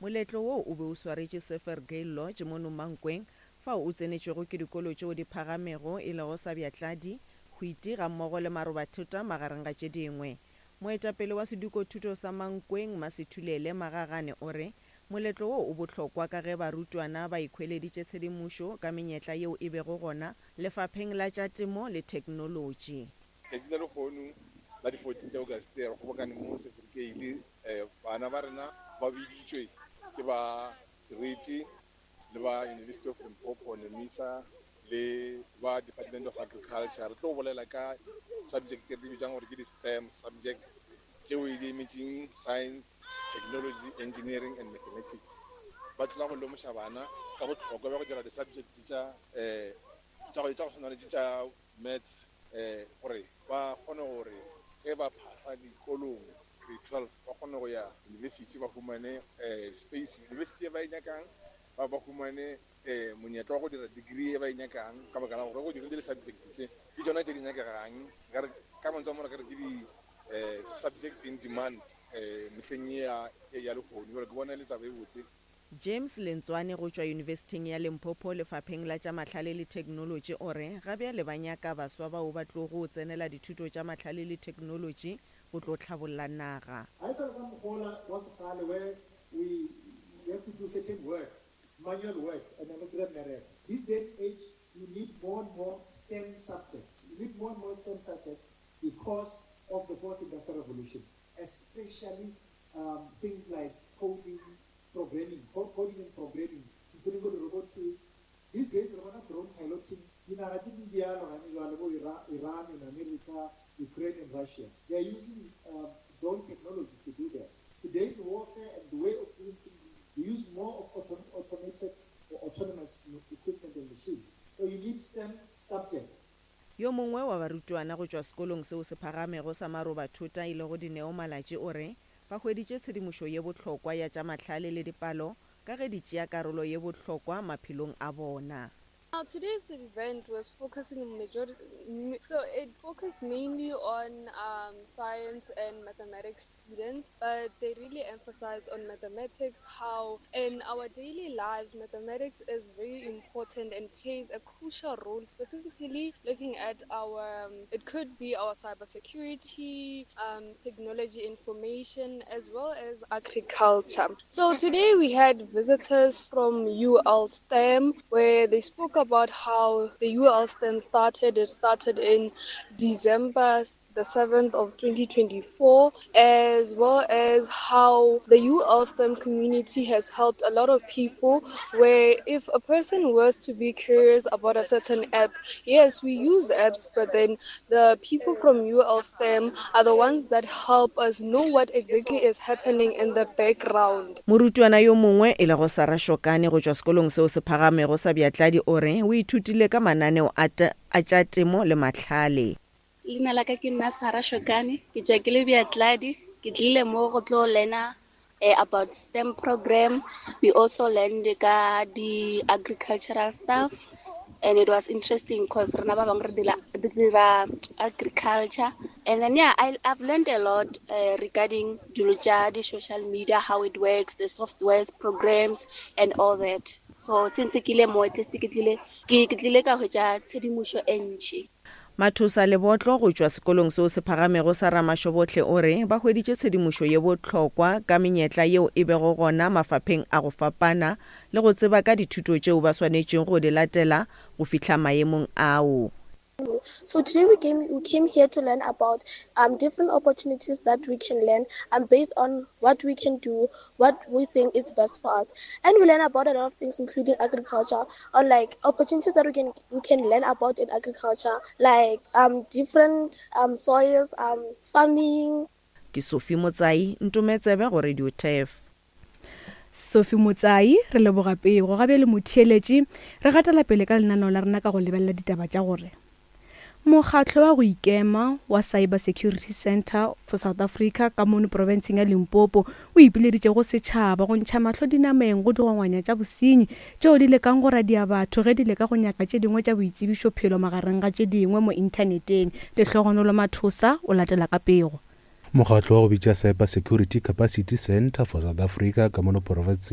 Moletlo wo o be o swaretše Sefergale Lodge mono Mankweng, fao o tsenetšwego ke dikolo tšeo di phagamego e lego sa Bjatladi, Hwiti gammogo le Marobathota magareng ga tše dingwe. Moetapele wa sedikothuto sa Mankweng, Masethulele Magagane o re moletlo wo o bohlokwa ka ge barutwana ba ikhweleditše tshedimošo ka menyetla yeo e bego gona lefapheng la tša temo le theknolotši. Tšatši la lehono la di 14 tša Auguste re kgobokane mo Sefrikeile. Bana ba rena ba biditšwe ke ba Seriti le ba University of Limpopo, NEMISA le ba Department of Agriculture. Re tlo bolela ka subject re di bitsang gore ke di-STEM subjects tšeo di emetšeng Science, Technology, Engineering and Mathematics. Ba tlola go lemoša bana ka bohlokwa bja go dira di-subject tša tša go tshwana le tše tša Maths gore ba kgone gore ge ba phasa dikolong grade 12 ba kgone go ya university ba humane space university e ba e nyakang, ba ba humane monyetla wa go dira degree e ba e nyakang ka baka la gore go dirile di-subject tše ke tšona tše di nyakegang. Nkare ka mantswe a mangwe re ka re ke di-subject in demand mehleng ye ya lehono. Jwale ke bona e le taba e botse. James Lentswane go tšwa Yunibesithing ya Limpopo lefapheng la tša mahlale le theknolotši o re ga bjale ba nyaka baswa bao ba tlogo tsenela dithuto tša mahlale le theknolotši go tlo hlabolla naga. Ga e sa le ka mokgwa wola wa sekgale where we you have to do certain work, manual work and then o kry-a mmereko. This day and age you need more and more stem subjects, you need more and more stem subjects because of the fourth industrial revolution, especially um things like coding, programming, coding and programming, including bo di-robotics. These days re bona drone piloting, dinaga tše dingwe di alwa gane jwale bo Iran and America, Ukraine and Russia. They are using um, drone technology to do that. Today's warfare and the way of doing things, we use more of auto automated or autonomous equipment and machines. So you need STEM subjects. Yo mongwe wa barutwana go tšwa sekolong seo se phagamego sa Marobathota e lego Dineo Malatji o re ba hweditše tshedimošo ye bohlokwa ya tša mahlale le dipalo ka ge di tšea karolo ye bohlokwa maphelong a bona. Now today's event was focusing majority, so it focused mainly on um, science and mathematics students, but they really emphasized on mathematics, how in our daily lives mathematics is very important and plays a crucial role, specifically looking at our, um, it could be our cybersecurity, um, technology information, as well as agriculture. So today we had visitors from UL STEM where they spoke about how the UL STEM started. It started in December the 7th of 2024, as well as how the UL STEM community has helped a lot of people where if a person was to be curious about a certain app, yes, we use apps, but then the people from UL STEM are the ones that help us know what exactly is happening in the background. Morutwana yo mongwe e lego Sarah Shokane go tšwa sekolong seo se phagamego sa Bjatladi o re o ithutile ka mananeo a a tša temo le mahlale. Leina la ka ke nna Sarah Shokane, ke tšwa ke le Bjatladi. Ke tlile mo go tlo learna eh, about STEM program. We also learned ka di agricultural stuff and it was interesting because rena ba bangwe re dira agriculture and then yeah I, I've learned a lot uh, regarding dilo tša di-social media how it works the softwares programs and all that so since ke ile mo at least ke tlile ke tlile ka hwetša tshedimošo e ntši. Mathosa Lebotlo go tšwa sekolong seo se phagamego sa Ramashobohle o re ba hweditše tshedimošo ye bohlokwa ka menyetla yeo e bego gona mafapheng a go fapana le go tseba ka dithuto tšeo ba swanetšego go di latela go fihla maemong ao. So today we came we came here to learn about um, different opportunities that we can learn um, based on what we can do, what we think is best for us. And we learn about a lot of things including agriculture on like opportunities that we can we can learn about in agriculture like um, different um, soils, um, farming. Ke Sophie Motsai, Ntometsebe go Radio Turf. Sophie Motsai, re leboga pego. Ga bjale motheeletši, re gatela pele ka lenaneo la rena ka go lebelela ditaba tša gore Mokgatlo wa go ikema wa Cyber Security Centre for South Africa ka mono profenseng ya Limpopo o ipileditše go setšhaba go ntšha mahlo dinameng go digongwanya tša bosenyi tšeo di lekang go radia batho ge di leka go nyaka tše dingwe tša boitsebišophelo magareng ga tše dingwe mo inthaneteng. Lehlogonolo Mathosa o latela ka pego. Mokgatlo wa go bitša Cyber Security Capacity Centre for South Africa ka mono profenseng.